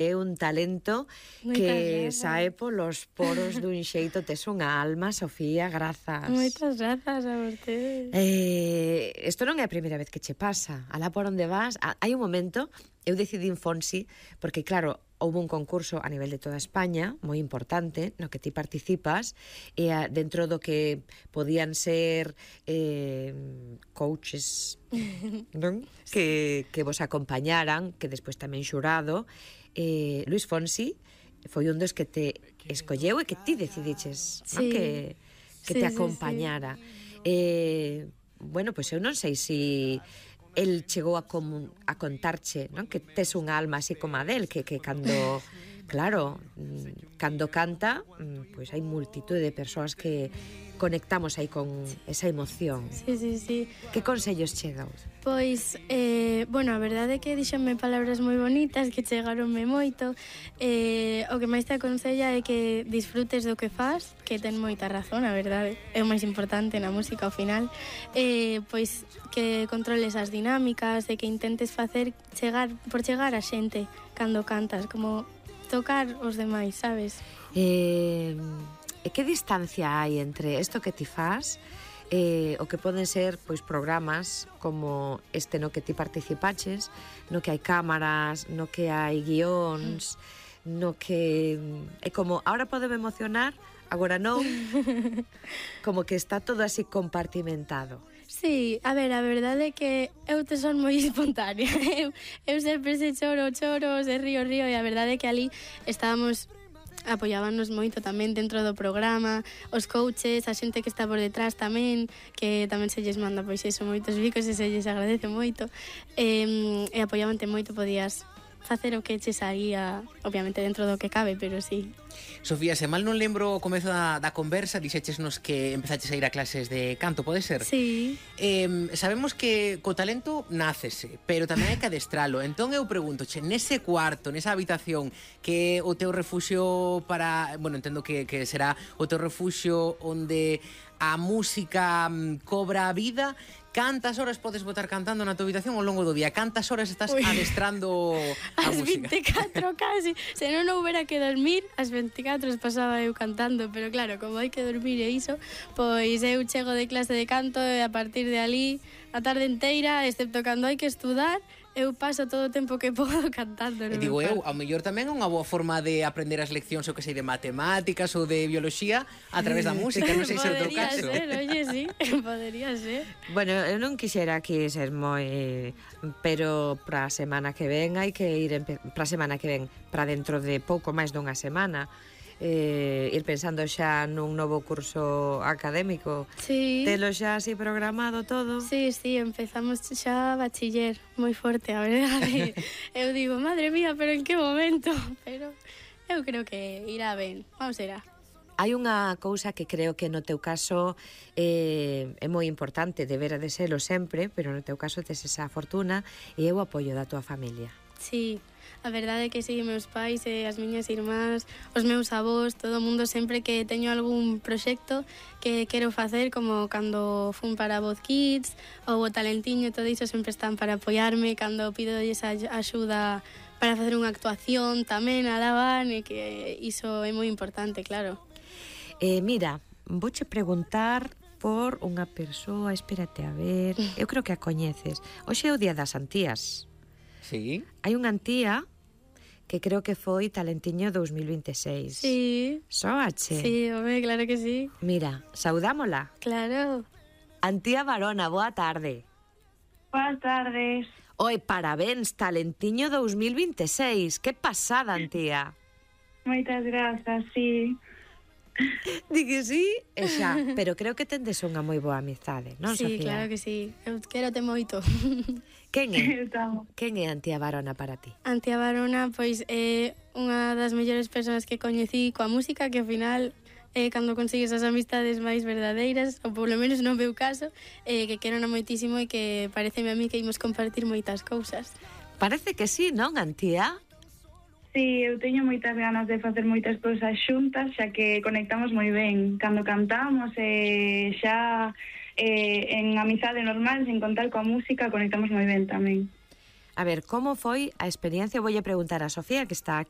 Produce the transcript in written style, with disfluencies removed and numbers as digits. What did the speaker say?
É un talento que sae polos poros dun xeito. Tes unha alma, Sofía, grazas. Moitas grazas a vostedes. Isto non é a primeira vez que che pasa. Alá por onde vas, hai un momento, eu decidín Fonsi, porque claro, houve un concurso a nivel de toda España, moi importante, no que ti participas, e dentro do que podían ser coaches, non? Que vos acompañaran, que despois tamén xurado, Luis Fonsi foi un dos que te escolleu e que ti decidiches, non? Que te acompañara. Bueno, pois eu non sei se el chegou a contarche, non? Que tes unha alma así como a del, que cando, claro, cando canta, pois hai multitude de persoas que conectamos aí con esa emoción. Sí. Que consellos che dou? Pois, bueno, a verdade é que dixenme palabras moi bonitas que chegaronme moito. O que máis te aconsella é que disfrutes do que fas, que ten moita razón, a verdade. É o máis importante na música ao final. Pois que controles as dinámicas e que intentes facer chegar a xente cando cantas, como tocar os demais, sabes? E que distancia hai entre isto que ti faz o que poden ser pois programas como este no que ti participaches, no que hai cámaras, no que hai guións, no que é como, ahora podeme emocionar, agora non, como que está todo así compartimentado. Sí, a ver, a verdade é que eu te son moi espontánea. Eu sempre se choro, se río, e a verdade é que ali estábamos, apoyábanos moito tamén dentro do programa, os coaches, a xente que está por detrás tamén, que tamén se lles manda pois eso, moitos bicos e se lles agradece moito, e apoyábante moito, podías facer o que che saía, obviamente dentro do que cabe, pero sí. Sofía, se mal non lembro o comezo da conversa, dixéchesnos que empezaches a ir a clases de canto, pode ser? Sí. Sabemos que co talento nácese, pero tamén hai que adestralo. Entón eu preguntoche, nese cuarto, nesa habitación, que o teu refuxio para... Bueno, entendo que será o teu refuxio onde a música cobra a vida, cantas horas podes botar cantando na tua habitación ao longo do día? Cantas horas estás adestrando a música? As 24 casi. Se non houbera que dormir, as 24 pasaba eu cantando, pero claro, como hai que dormir e iso, pois eu chego de clase de canto e a partir de ali a tarde inteira, excepto cando hai que estudar, eu paso todo o tempo que podo cantando. E digo eu, ao mellor tamén é unha boa forma de aprender as leccións, o que sei, de matemáticas ou de bioloxía a través da música, non sei se é o teu caso. Podría ser, oye, sí, podría ser. Bueno, eu non quixera aquí ser moi... Pero para a semana que ven hai que ir... Para a semana que ven, para dentro de pouco máis dunha semana, ir pensando xa nun novo curso académico. Sí. Telo xa así programado todo. Sí, empezamos xa bachiller moi forte, a verdade. Eu digo, madre mía, pero en que momento? Pero eu creo que irá ben, vamos será. Hai unha cousa que creo que no teu caso é moi importante, debera de serlo sempre, pero no teu caso tes esa fortuna e é o apoio da tua familia. Sí, a verdade é que sí, meus pais e as miñas irmás, os meus avós, todo o mundo, sempre que teño algún proxecto que quero facer, como cando fun para Voz Kids ou o Talentiño, todo iso sempre están para apoiarme, cando pido esa axuda para facer unha actuación tamén alaban, e que iso é moi importante, claro. Mira, vouche preguntar por unha persoa, espérate a ver, eu creo que a coñeces. Hoxe é o Día das Antías. Sí. Hai unha antía que creo que foi Talentiño 2026. Sí. Sóache. Sí, home, claro que sí. Mira, saudámola. Claro. Antía Barona, boa tarde. Boas tardes. Oi, parabéns, Talentiño 2026. Que pasada, Antía. Moitas grazas, sí. Di que sí, e xa, pero creo que tendes unha moi boa amizade, non, sí, Sofía? Sí, claro que sí. Eu quérote moito. Quen é Antía Barona para ti? Antía Barona, pois, é unha das mellores persoas que coñecí coa música, que ao final cando consigues as amistades máis verdadeiras, ou polo menos non meu caso, que quero moitísimo e que pareceme a mí que imos compartir moitas cousas. Parece que sí, non, Antía? Sí, eu teño moitas ganas de facer moitas cousas xuntas, xa que conectamos moi ben cando cantamos, e xa en amizade normal, sen contar coa música, conectamos moi ben tamén. A ver, como foi a experiencia? Voulle preguntar a Sofía, que está aquí,